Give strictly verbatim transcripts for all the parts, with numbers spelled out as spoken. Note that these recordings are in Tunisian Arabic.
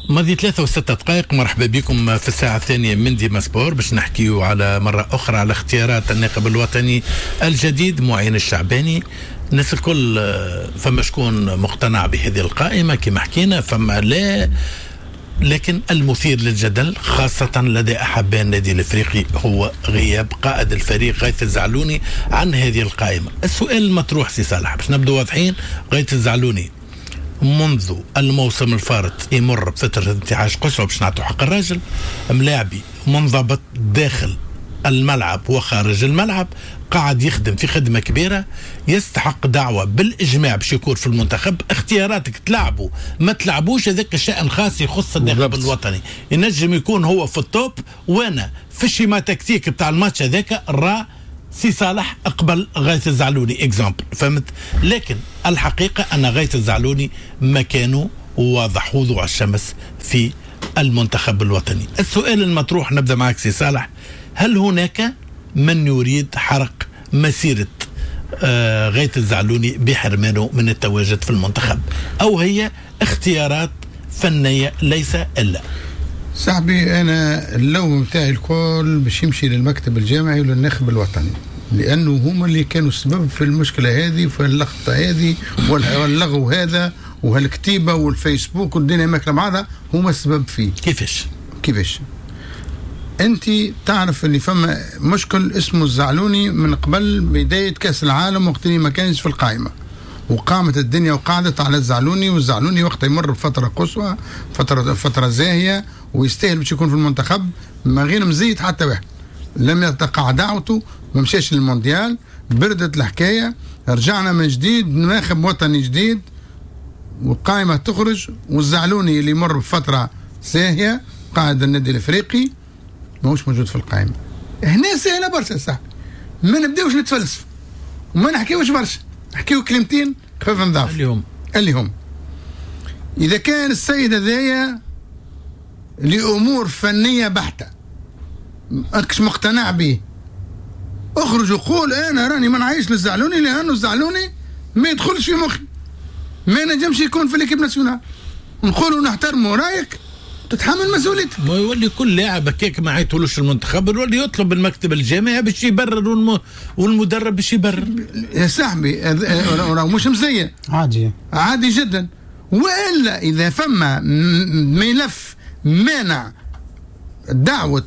ماضي ثلاثة وستة دقائق. مرحبا بكم في الساعة الثانية من ديما سبور باش نحكيو على مرة أخرى على اختيارات الناخب الوطني الجديد معين الشعباني. الناس الكل فما شكون مقتنع بهذه القائمة كما حكينا، فما لا، لكن المثير للجدل خاصة لدى أحباء النادي الإفريقي هو غياب قائد الفريق غيث الزعلوني عن هذه القائمة. السؤال المطروح سي صالح باش نبدو واضحين، غيث الزعلوني منذ الموسم الفارط يمر بفترة انتعاش قصوى باش نعطوا حق الراجل، ملاعبي منضبط داخل الملعب وخارج الملعب، قاعد يخدم في خدمة كبيرة، يستحق دعوة بالإجماع باش يكون في المنتخب. اختياراتك تلعبوا ما تلعبوش هذاك الشأن الخاص يخص الناخب الوطني، ينجم يكون هو في ال top وانا في ال schéma tactique بتاع الماتش هذاك را سي صالح اقبل غيث الزعلوني exemple، فهمت؟ لكن الحقيقة أن غيث الزعلوني مكانه واضح وضوح الشمس في المنتخب الوطني. السؤال المطروح نبدأ معك سي صالح، هل هناك من يريد حرق مسيرة آه غيث الزعلوني بحرمانه من التواجد في المنتخب، أو هي اختيارات فنية ليس إلا؟ صاحبي أنا اللوم نتاعي الكل باش يمشي للمكتب الجامعي وللناخب الوطني، لأنه هما اللي كانوا السبب في المشكلة هذه، في اللخبطة هذه واللغو هذا وهالكتيبة والفيسبوك والدنيا ماكلة بعضها، هما السبب فيه. كيفاش؟ كيفاش؟ أنت تعرف اللي فما مشكل اسمه الزعلوني من قبل بداية كأس العالم وقت اللي ما كانش في القائمة، وقامت الدنيا وقعدت على الزعلوني، والزعلوني وقت يمر بفترة قصوى، فترة فترة زاهية، ويستاهل باش يكون في المنتخب من غير مزيد حتى واحد. لم يتقع دعوته، ما مشاش للمونديال، بردت الحكاية، رجعنا من جديد ناخب وطني جديد والقائمة تخرج، والزعلوني اللي يمر بفترة ساهية قائد النادي الافريقي ماهوش موجود في القائمة. هنا سهلة برشا صاحبي، ما نبداوش نتفلسف وما نحكيوش برشا، نحكيو كلمتين خفيف نضاف اللي هم اللي هم إذا كان السيد هذايا لأمور فنية بحتة ماكش مقتنع به، اخرج وقول أنا راني ما نعيش للزعلوني لأنه الزعلوني ما يدخلش في مخي، ما نجمش يكون في l'équipe nationale. نقولوا نحترموا رايك، تتحمل مسؤوليتك. ما يولي كل لاعب هكاك ما عيطولوش المنتخب يولي يطلب المكتب الجامعي باش يبرر والم... والمدرب باش يبرر. يا صاحبي راه مش مزية، عادي عادي جدا. والا اذا فما ملف مانع دعوه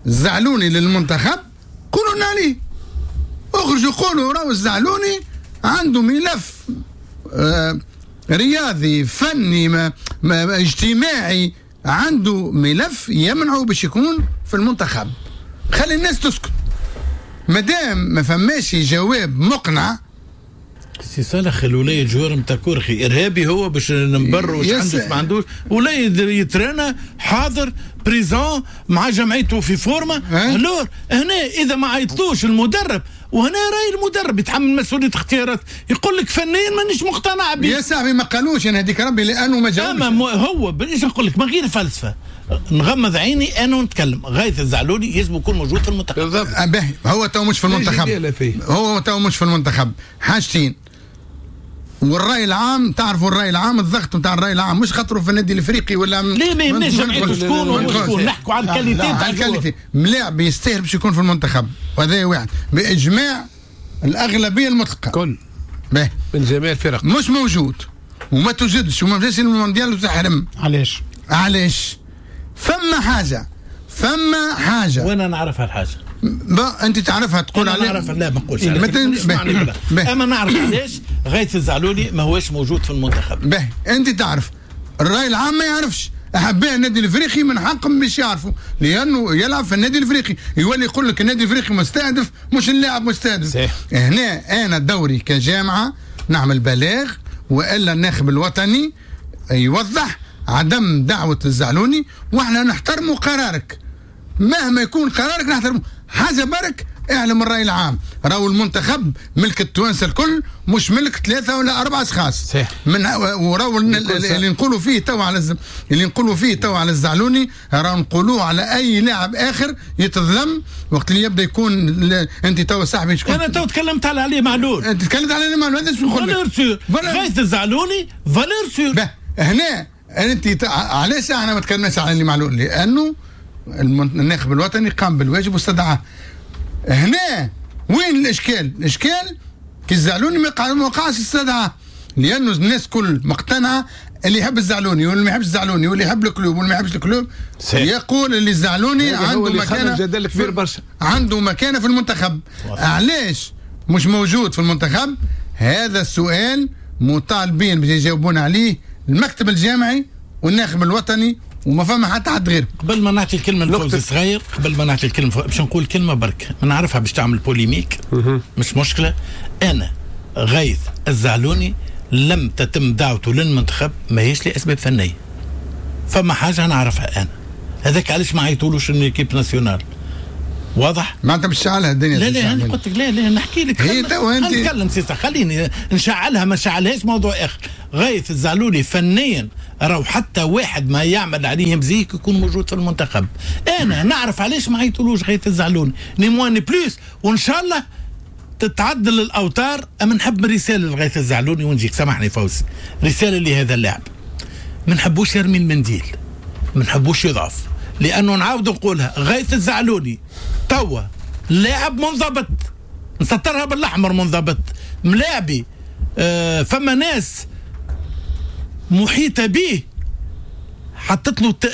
الزعلوني للمنتخب قولوا لنا عليه، اخرجوا قولوا راهو الزعلوني عنده ملف آه رياضي فني ما ما اجتماعي، عنده ملف يمنعه باش يكون في المنتخب. خلي الناس تسكت مادام ما فماش جواب مقنع. سي صالح الولاية joueur نتاع كورخي ارهابي هو باش نبرر واش عنده ما عندوش، ولا يترانا حاضر présent مع جمعيته في forme. alors هنا اذا ما عيطلوش المدرب، وهنا راي المدرب يتحمل مسؤولية اختيارات، يقول لك فنيا مانيش مقتنع به. يا صاحبي ما قالوش انا هذيك ربي لانه ما جاوبش. اما هو باش نقول لك من غير فلسفة، نغمض عيني انا ونتكلم، غيث الزعلوني يجب يكون موجود في المنتخب. بالضبط. هو تو مش في المنتخب، هو تو مش في المنتخب. حاجتين، والراي العام تعرفوا الراي العام، الضغط نتاع الراي العام مش خاطره في النادي الافريقي ولا ليه ما يهمناش جمعيته شكون وشكون، نحكوا على ال qualité تاع ال qualité. ملاعب يستاهل باش يكون في المنتخب، وهذا واحد باجماع الاغلبية المطلقة كل باهي من جميع الفرق مش موجود وما توجدش وما مشاش للمونديال وتحرم. علاش؟ علاش؟ فما حاجة، فما حاجة وانا نعرفها الحاجة. با انت تعرفها تقول عليها. نعرفها لا ما نقولش عليها، اما نعرف علاش غيث الزعلولي ما هوش موجود في المنتخب. باهي انت تعرف، الراي العام ما يعرفش. احباء النادي الافريقي من حقهم باش يعرفوا لانه يلعب في النادي الافريقي، يولي يقول لك النادي الافريقي مستهدف مش اللاعب مستهدف. صحيح. هنا انا دوري كجامعه نعمل بلاغ، والا الناخب الوطني يوضح عدم دعوه الزعلوني، واحنا نحترموا قرارك مهما يكون قرارك نحترمه. حاجة برك اعلم الراي العام، راهو المنتخب ملك التوانسة الكل مش ملك ثلاثة ولا اربعة اشخاص. صحيح. من وراهو اللي نقولوا فيه تو على الز... اللي نقولوا فيه تو على الزعلوني راهو نقولوه على اي لاعب اخر يتظلم وقت اللي يبدا يكون ل... انت تو صاحبي شكون؟ انا تو تكلمت على علي معلول. انت تكلمت على علي معلول، هذا شو نقول لك؟ valeur sûre. غيث الزعلوني valeur sûre. هنا انت علاش احنا ما تكلمناش على اللي معلول؟ لانه الناخب الوطني قام بالواجب واستدعاه. هنا وين الاشكال؟ الاشكال كي الزعلوني ما وقعش استدعاه، لانه الناس كل مقتنعة اللي يحب الزعلوني واللي ما يحبش الزعلوني واللي يحب ال club واللي ما يحبش ال club يقول اللي الزعلوني عنده مكانه، جدل كبير برشا، عنده مكانه في المنتخب. علاش مش موجود في المنتخب؟ هذا السؤال مطالبين باش يجاوبون عليه المكتب الجامعي والناخب الوطني، وما فما حتى حد غير. قبل ما نعطي الكلمة لفوزي صغير، قبل ما نعطي الكلمة باش نقول كلمة برك، ما نعرفها باش تعمل polémique مش مشكلة. انا غيث الزعلوني لم تتم دعوته للمنتخب ماهيش لاسباب فنية، فما حاجة نعرفها انا، هذاك علاش ما عيطولوش l'équipe nationale. واضح؟ ما انت مش شعلها الدنيا. لا لا انا قلت لك لا لا نحكي لك، هي تو انت نتكلم سيسا، خليني نشعلها ما نشعلهاش موضوع اخر. غيث الزعلولي فنيا راهو حتى واحد ما يعمل عليه مزيك يكون موجود في المنتخب. انا نعرف علاش ما عيطولوش غيث الزعلوني، ni moins ni plus، وان شاء الله تتعدل الاوتار. اما نحب رسالة لغيث الزعلوني ونجيك، سامحني فوزي، رسالة لهذا اللاعب، ما نحبوش يرمي المنديل، ما نحبوش يضعف، لانه نعاود نقولها، غيث الزعلوني توا لاعب منضبط، نسطرها بالاحمر، منضبط، ملاعبي، آه فما ناس محيطه به حطت له ت...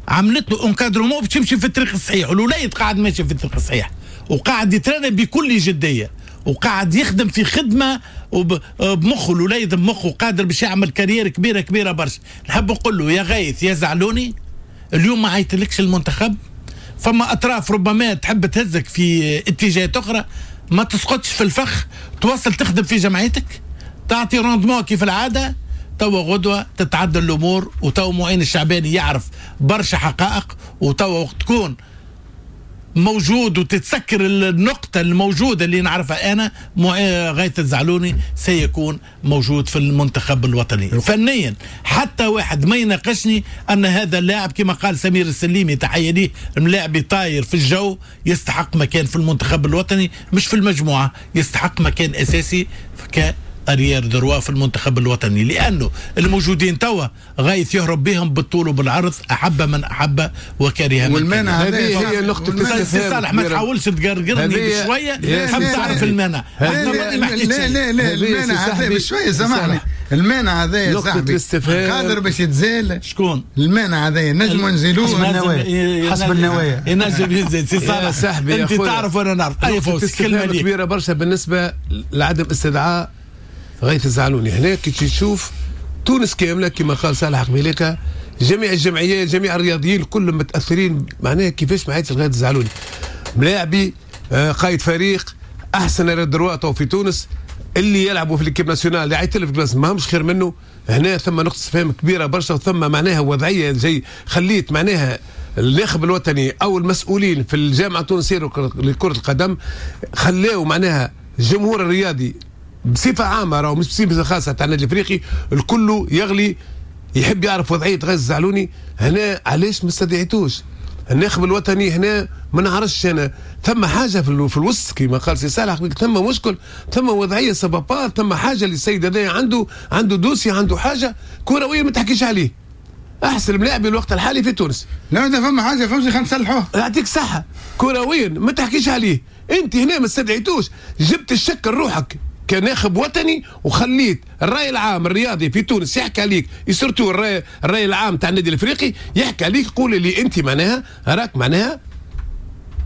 عملت له encadrement باش يمشي في الطريق الصحيح، والوليد قاعد ماشي في الطريق الصحيح وقاعد يترنى بكل جدية وقاعد يخدم في خدمة وبمخه، الوليد بمخه قادر باش يعمل carrière كبيرة كبيرة برشا. نحب نقول له يا غيث يا زعلوني، اليوم ما عيطلكش المنتخب، فما اطراف ربما تحب تهزك في اتجاهات اخرى، ما تسقطش في الفخ، تواصل تخدم في جمعيتك، تعطي rendement كيف العادة. توا غدوه تتعدل الامور، وتوا معين الشعباني يعرف برشا حقائق، وتوا وقت تكون موجود وتتسكر النقطة الموجودة اللي نعرفها أنا، غيث الزعلوني سيكون موجود في المنتخب الوطني. فنيا حتى واحد ما يناقشني أن هذا اللاعب كما قال سمير السليمي تحية ليه، ملاعب طاير في الجو، يستحق مكان في المنتخب الوطني، مش في المجموعة، يستحق مكان أساسي ك arrière droit في المنتخب الوطني، لانه الموجودين توا غايث يهرب بهم بالطول وبالعرض، احب من احب وكره من والمانع. هذه هي نقطة الاستفهام. صالح ما تحاولش تقرقرني بشوية، حاب تعرف المانع. لا لا لا المانع هذا بشوية، سامحني، المانع هذا يا صاحبي قادر باش يتزال. شكون المانع هذا؟ نجموا نزيلوه حسب النوايا، حسب النوايا ينجم يزيد. سي صالح انت تعرف وانا نعرف. اي فوز كلمة كبيرة برشا بالنسبة لعدم استدعاء غيث الزعلوني. هنا كي تشوف تونس كاملة كما قال صالح قبيليكا، جميع الجمعيات، جميع الرياضيين كلهم متاثرين، معناها كيفاش ما عيطش غيث الزعلوني، ملاعبي، آه، قائد فريق، احسن droit في تونس، اللي يلعبوا في l'équipe nationale اللي عيط له في بلاصة ما همش خير منه. هنا ثم نقطة استفهام كبيرة برشا، وثم معناها وضعية جاي خليت معناها الناخب الوطني او المسؤولين في الجامعة التونسية لكرة القدم خلاو معناها الجمهور الرياضي بصفة عامة، راهو مش بصفة خاصة تاع النادي الافريقي، الكل يغلي يحب يعرف وضعية غيث الزعلوني. هنا علاش ما استدعيتوش الناخب الوطني؟ هنا ما نعرفش انا، ثم حاجة في, في الوسط كما قال سي صالح، ثم مشكل، ثم وضعية ça va pas، ثم حاجة للسيد هذا عنده عنده dossier، عنده حاجة كروية ما تحكيش عليه. احسن ملاعب الوقت الحالي في تونس. لا ده فما حاجة فوزي خلينا نصلحوها. يعطيك صحة، كرويا ما تحكيش عليه، انت هنا ما استدعيتوش، جبت الشك لروحك كناخب وطني، وخليت الراي العام الرياضي في تونس يحكي عليك، surtout الراي الراي العام تاع النادي الافريقي يحكي عليك، قول اللي انت معناها راك معناها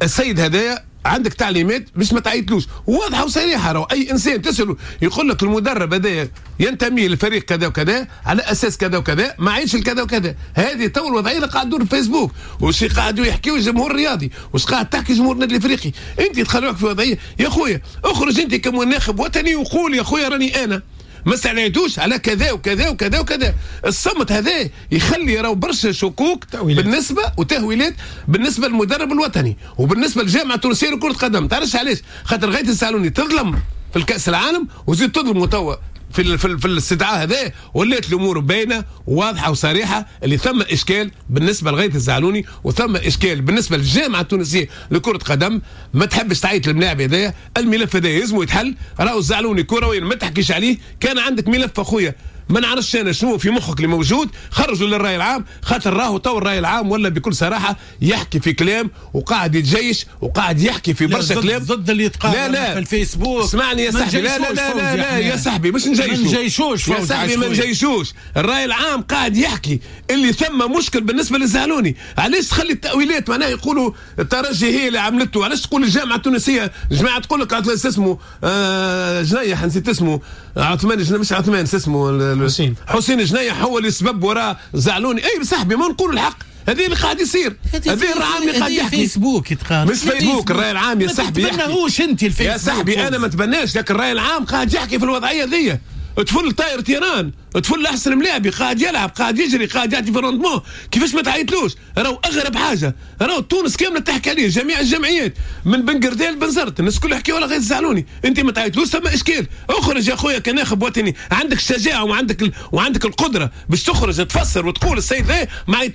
السيد هذايا عندك تعليمات باش ما تعيطلوش، واضحة وصريحة. راهو اي انسان تساله يقول لك المدرب هذايا ينتمي للفريق كذا وكذا على اساس كذا وكذا، ما عيش الكذا وكذا. هذه تو الوضعية اللي قاعد تدور في فيسبوك، وش قاعدوا يحكيوا الجمهور الرياضي، وش قاعد تحكي جمهور النادي الافريقي. انت تخلي روحك في وضعية يا خويا، اخرج انت كمناخب وطني وقول يا خويا راني انا ما استعليتوش على كذا وكذا وكذا وكذا. الصمت هذا يخلي راهو برشا شكوك تأويلات. بالنسبة وتهويلات بالنسبة للمدرب الوطني وبالنسبة للجامعة التونسية لكرة القدم. تعرفش علاش؟ خاطر غاية السعلوني تظلم في الكاس العالم وزيد تظلم توا في في, في الاستدعاء هذا، ولات الامور باينة وواضحة وصريحة اللي ثم اشكال بالنسبة لغاية الزعلوني، وثم اشكال بالنسبة للجامعة التونسية لكرة قدم. ما تحبش تعيط للملاعب هذايا، الملف هذا يلزمو يتحل. راهو الزعلوني كرويا ما تحكيش عليه، كان عندك ملف اخويا ما نعرفش انا شنو في مخك اللي موجود، خرجوا للراي العام، خاطر راهو تو الراي العام ولا بكل صراحة يحكي في كلام وقاعد يتجيش وقاعد يحكي في برشا كلام ضد اللي يتقال لا لا في الفيسبوك. اسمعني يا صاحبي، لا لا لا لا, لا يا صاحبي مش نجيشوش، ما نجيشوش يا صاحبي، ما نجيشوش. الراي العام قاعد يحكي اللي ثم مشكل بالنسبة للزعلوني. علاش تخلي التاويلات معناها يقولوا الترجي هي اللي عملته؟ علاش تقول الجامعة التونسية؟ جماعة تقول لك اسمه آه جنيح، نسيت اسمه، عثمان جنيح، مش عثمان، اسمه حسين، حسين جنيح هو اللي سبب وراء زعلوني. اي صاحبي ما نقول الحق، هذه اللي قاعد يصير، هذه الراي العام اللي قاعد يحكي. فيسبوك يتقال، مش فيسبوك، الراي العام يا صاحبي. ما تبناهوش انت الفيسبوك يا صاحبي، انا ما تبناش، لكن الراي العام قاعد يحكي في الوضعية ذي. طفل طاير terrain، طفل احسن ملاعبي، قاعد يلعب، قاعد يجري، قاعد يعطي في rendement، كيفاش ما تعيطلوش؟ راهو اغرب حاجة، راهو تونس كاملة تحكي عليه، جميع الجمعيات من بن قردان لبنزرت، الناس كلها يحكيوا على غيث الزعلوني، انت ما تعيطلوش ثم اشكال. اخرج يا خويا كناخب وطني، عندك الشجاعة وعندك ال... وعندك القدرة باش تخرج تفسر وتقول السيد ذا ما عيطلوش.